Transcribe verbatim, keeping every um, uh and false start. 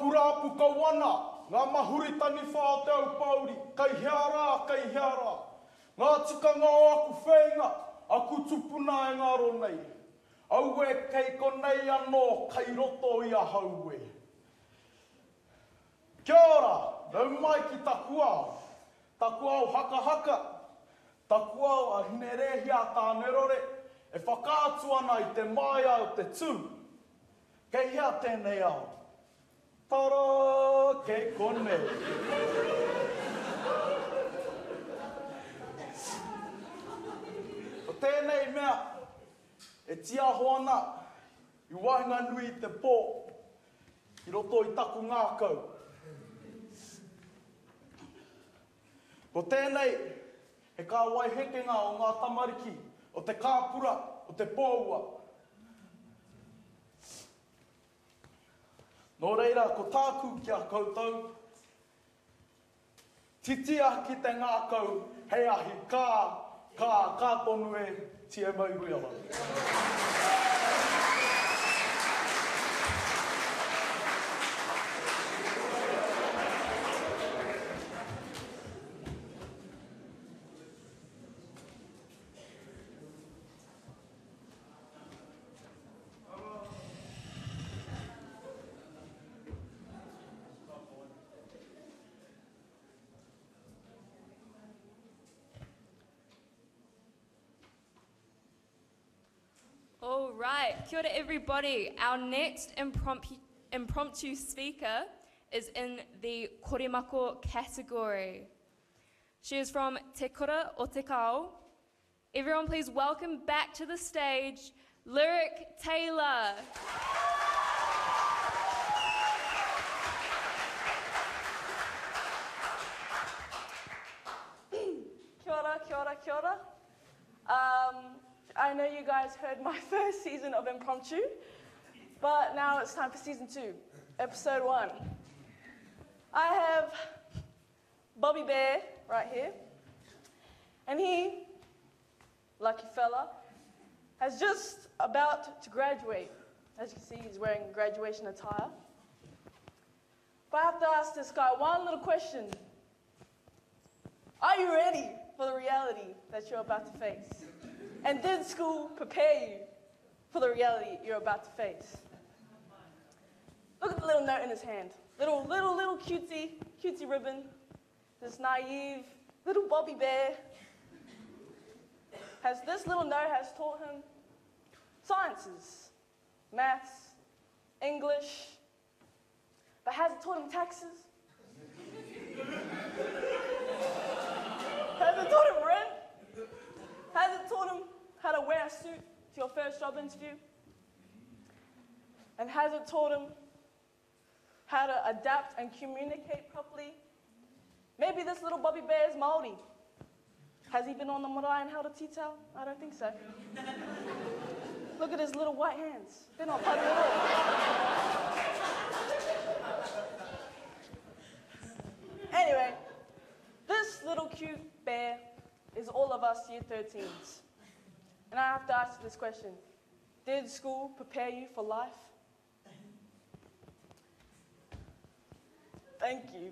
Rāpurapu kau ana, ngā mahuri taniwha o te Aupōuri, kei hea rā, kei hea rā. Ngā tikanga o aku whēinga, aku tupuna e ngaro nei. Aue kei konei anō, kei roto i ahau e. Kia ora, nau mai ki taku ao. Taku ao hakahaka, taku ao a Hinerēhia a Tānerore e whakaatu ana i te māia o te tū. Kei hea tēnei ao? Tara! Kei konei. Ko tēnei mea e tiaho ana i waenganui i te pō i roto i taku ngākau. Ko tēnei he kāwai hekenga o ngā tamariki, o te kāpura, o te pōua. Nō reira, ko tāku ki a koutou, titia ki te ngākau hei ahi kā, kā, kā tonu e T M O Wheeler. All right, kia ora everybody. Our next impromptu, impromptu speaker is in the Korimako category. She is from Te Kura o Te Kao. Everyone please welcome back to the stage, Lyric Taylor. Kia ora, kia ora, kia ora. Um, I know you guys heard my first season of Impromptu, but now it's time for season two, episode one. I have Bobby Bear right here, and he, lucky fella, has just about to graduate. As you can see, he's wearing graduation attire. But I have to ask this guy one little question. Are you ready for the reality that you're about to face? And did school prepare you for the reality you're about to face? Look at the little note in his hand. Little, little, little cutesy, cutesy ribbon. This naive little Bobby Bear has this little note has taught him sciences, maths, English, but has it taught him taxes? Has it taught him rent? Has it taught him how to wear a suit to your first job interview? And has it taught him how to adapt and communicate properly? Maybe this little Bobby Bear is Māori. Has he been on the marae and held a tea towel? I don't think so. Look at his little white hands. They're not putty at all. Anyway, this little cute bear is all of us year thirteens. And I have to ask you this question. Did school prepare you for life? Thank you.